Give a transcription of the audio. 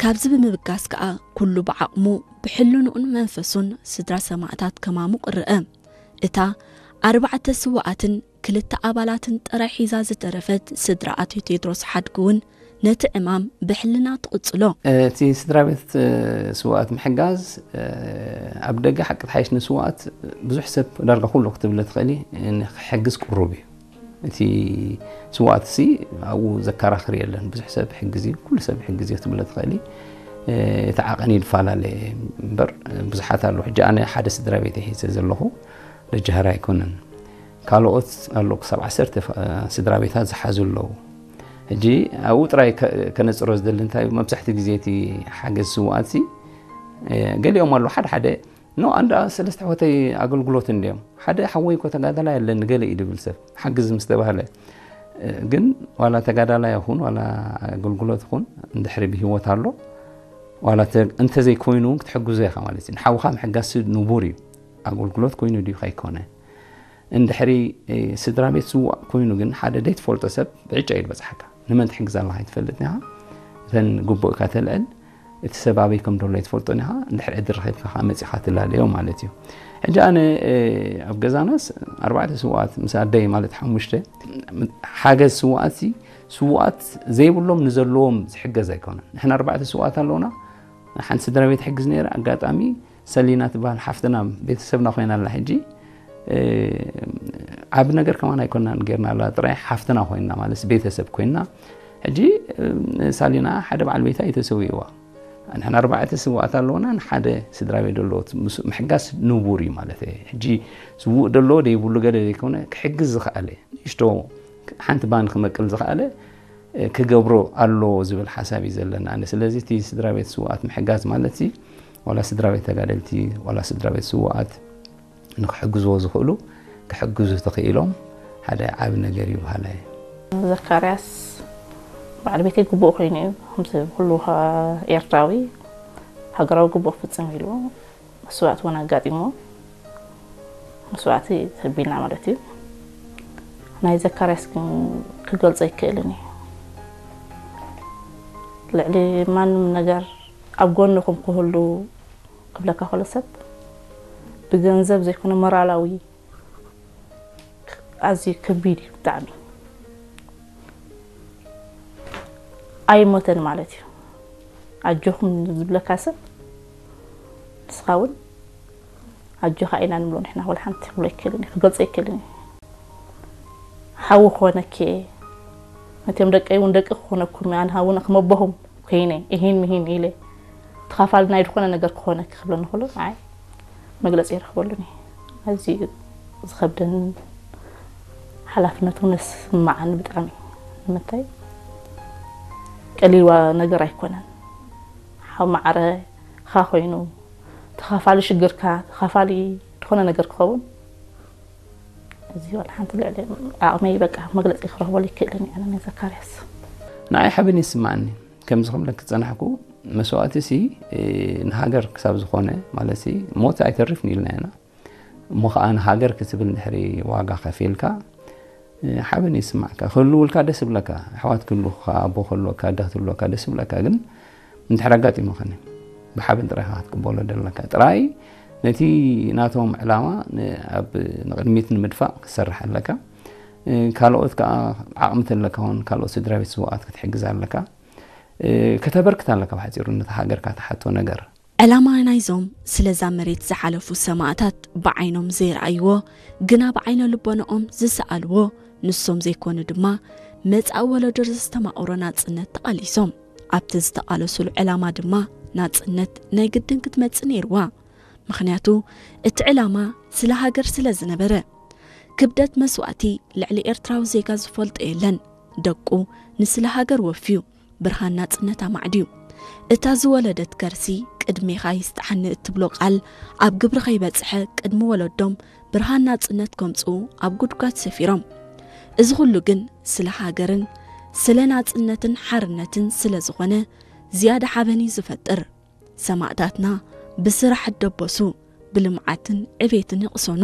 ካብዚ ብምብጋስ ከኣ ኩሉ ብዓቕሙ ብሕልንኡን መንፈሱን ስድራ ሰማእታት ከማሙቕ ርአ። እታ ኣርባዕተ ስውኣትን ክልተ ኣባላትን ጥራይ ሒዛ ዝተረፈት ስድራ ኣቶ ቴድሮስ ሓድጉ እውን ነቲ ዕማም ብሕልና ትቕጽሎ። እቲ ስድራ ቤት ስውኣት ምሕጋዝ ኣብ ደገ ሓቂ ትሓይሽ ንስውኣት ብዙሕ ሰብ ዳርጋ ኩሉ ክትብለ ትኽእሊ ክሕግዝ ቅሩብ እዩ። እቲ ስውኣት ሲ ኣብኡ ዘከራኽር የለን። ብዙሕ ሰብ ይሕግዝ እዩ፣ ኩሉ ሰብ ይሕግዝ እዩ ክትብለ ትኽእሊ። እቲ ዓቐን ይፈላለ እምበር ብዙሓት ኣለዉ። ሕጂ ኣነ ሓደ ስድራ ቤት ሒዘ ዘለኹ ደጃህር ኣይኮነን። ካልኦት ኣለዉ ክሳብ ዓሰርተ ስድራ ቤታት ዝሓዙ ኣለዉ። ሕጂ ኣብኡ ጥራይ ከነፅሮ ዝደሊ እንታይ እዩ፣ መብዛሕትኡ ግዜ እቲ ሓገዝ ስውኣት ሲ ገሊኦም ኣለዉ ሓደ ሓደ ኖ ኣንዳ ሰለስተ ሕወተይ ኣገልግሎት እንዲዮም ሓደ ሓወይ እኮ ተጋዳላይ ኣለኒ ገለ እዩ ድብል ሰብ ሓግዝ ምስ ተባህለ ግን ዋላ ተጋዳላይ ይኹን ዋላ ኣገልግሎት ይኹን እንድሕሪ ብህይወት ኣሎ ዋላ እንተዘይኮይኑ እውን ክትሕግዞ ኢኻ ማለት እዩ። ንሓውኻ ምሕጋዝ ንቡር እዩ። ኣገልግሎት ኮይኑ ድዩ ከይኮነ እንድሕሪ ስድራ ቤት ስዋእ ኮይኑ ግን ሓደ ዘይትፈልጦ ሰብ ብዕጫ እዩ ዝበፅሓካ። ንመን ትሕግዝ ኣለኻ ኣይትፈልጥን ኢኻ። እተን ግቡእካ ተልዕል እቲ ሰብ ኣበይ ከም ደሎ ኣይትፈልጦን ኢኻ። እንድሕሪ ዕድል ረኺብካ ከዓ መፂኻ ትላለዮ ማለት እዩ። ሕጂ ኣነ ኣብ ገዛናስ ኣርባዕተ ስውኣት ምስ ኣደይ ማለት ሓሙሽተ ሓገዝ ስውኣት ስውኣት ዘይብሎም ንዘለዎም ዝሕገዝ ኣይኮነን። ንሕና ኣርባዕተ ስውኣት ኣለውና። ሓንቲ ስድራ ቤት ሕግዝ ነይረ ኣጋጣሚ ሰሊና ትበሃል ሓፍትና ቤተሰብና ኮይና ኣላ ሕጂ ዓብ ነገር ከማን ኣይኮናን ጌርና ኣላ ጥራይ ሓፍትና ኮይና ማለት ቤተሰብ ኮይና ሕጂ ሳሊና ሓደ በዓል ቤታ እዩ ተሰዊእዋ። ንሕና ኣርባዕተ ስዋኣት ኣለውና ንሓደ ስድራ ቤት ደለዎት ምሕጋስ ንቡር እዩ ማለት ሕጂ ስውእ ደለዎ ደይብሉ ገለ ዘይኮነ ክሕግዝ ዝኸኣለ ንእሽቶ ሓንቲ ባን ክመቅል ዝኸኣለ ክገብሮ ኣለዎ ዝብል ሓሳብ እዩ ዘለና። ስለዚ እቲ ስድራ ቤት ስውኣት ምሕጋዝ ማለት ሲ ዋላ ስድራ ቤት ተጋደልቲ ዋላ ስድራ ቤት ስውኣት ንክሕግዝዎ ዝኽእሉ ክሕግዙ ተኽኢሎም ሓደ ዓብ ነገር እዩ በሃላይ። ዘካርያስ በዓል ቤተይ ግቡእ ኮይኑ እዩ። ከምዚ ኩሉ ኤርትራዊ ሃገራዊ ግቡእ ፍጽም ኢሉ መስዋእቲ እውን ኣጋጢሞ መስዋእቲ ተቢልና ማለት እዩ። ናይ ዘካርያስ ግን ክገልጾ ይክእልን እዩ። ልዕሊ ማንም ነገር ኣብ ጎንኹም ክህሉ ክብለካ ከሎ ሰብ ብገንዘብ ዘይኮነ ሞራላዊ ኣዝዩ ከቢድ እዩ ብጣዕሚ። ኣይሞተን ማለት እዩ። ኣጆኹም ዝብለካ ሰብ ንስኻ እውን ኣጆኻ ኢና ንብሎ ንሕና። ወላ ሓንቲ ክብሎ ኣይክእልን እዩ፣ ክገልጾ ኣይክእልን እዩ። ሓዊ ክኾነኪ እየ፣ ነቲኦም ደቀይ እውን ደቂ ክኾነኩም እየ፣ ኣነ እውን ከም ኣቦኹም ኮይነ እሂን ምሂን ኢለ ተኻፋሊ ናይ ዝኾነ ነገር ክኾነኪ ክብለኒ ከሎ ንዓይ መግለጺ ኣይረኽበሉን እየ። ኣዝዩ ዝኸብደን ሓላፍነት እውን ዝስምዓኒ ብጣዕሚ። ንምንታይ ቀሊል ነገር ኣይኮነን። ሓው ማዕረኻ ኮይኑ ተኻፋሊ ሽግርካ ተኻፋሊ ዝኾነ ነገር ክኸውን እዚ ዋላ ሓንቲ ልዕሊ ዓቕመይ በቃ መግለፂ ክረኽበሉ ይክእልን እየ ኣነ ናይ ዘካርያስ። ንዓይ ሓበን ይስምዓኒ። ከምዚ ክብለኪ ዝጸናሕኩ መስዋእቲ ሲ ንሃገር ክሳብ ዝኾነ ማለት ሲ ሞት ኣይተርፍን ኢልና ኢና። እሞ ኸዓ ንሃገር ክትብል እንድሕሪ ዋጋ ከፊልካ ሓበን ይስማዕካ። ክህልውልካ ደስ ይብለካ። ኣሕዋት ክህልውካ፣ ኣቦ ክህልወካ፣ ኣደ ክትህልወካ ደስ ይብለካ። ግን እንድሕር ኣጋጢሙኽኒ ብሓበን ጥራይ ኢኻ ክትቅበሎ ዘለካ። ጥራይ ነቲ ናቶም ዕላማ ኣብ ንቕድሚት ንምድፋእ ክትሰርሕ ኣለካ። ካልኦት ከዓ ዓቕሚ ተለካ እውን ካልኦት ስድራ ቤት ስውኣት ክትሕግዝ ኣለካ። ከተበርክት ኣለካ ብሓፂሩ ነታ ሃገርካ ትሓቶ ነገር። ዕላማ ናይዞም ስለዛ መሬት ዝሓለፉ ሰማእታት ብዓይኖም ዘይረኣይዎ ግና ብዓይነ ልቦንኦም ዝሰኣልዎ ንሶም ዘይኮኑ ድማ መጻኢ ወለዶ ዘስተማቕሮ ናጽነት ተቓሊሶም። ኣብቲ ዝተቓለሱሉ ዕላማ ድማ ናጽነት ናይ ግድን ክትመጽእ ነይርዋ። ምኽንያቱ እቲ ዕላማ ስለ ሃገር ስለ ዝነበረ። ክብደት መስዋእቲ ልዕሊ ኤርትራዊ ዜጋ ዝፈልጦ የለን። ደቁ ንስለ ሃገር ወፍዩ። ብርሃን ናጽነት ኣማዕድዩ። እታ ዝወለደት ከርሲ ቅድሜኻ ይስጥሓኒ እትብሎ ቃል ኣብ ግብሪ ከይበጽሐ ቅድሚ ወለዶም ብርሃን ናጽነት ከምጽኡ ኣብ ጉድጓድ ሰፊሮም። እዚ ኩሉ ግን ስለ ሃገርን ስለ ናጽነትን ሓርነትን ስለ ዝኾነ ዝያዳ ሓበን እዩ ዝፈጥር። ሰማእታትና ብስራሕ እደበሱ፣ ብልምዓትን ዕቤትን ይቕሰኑ።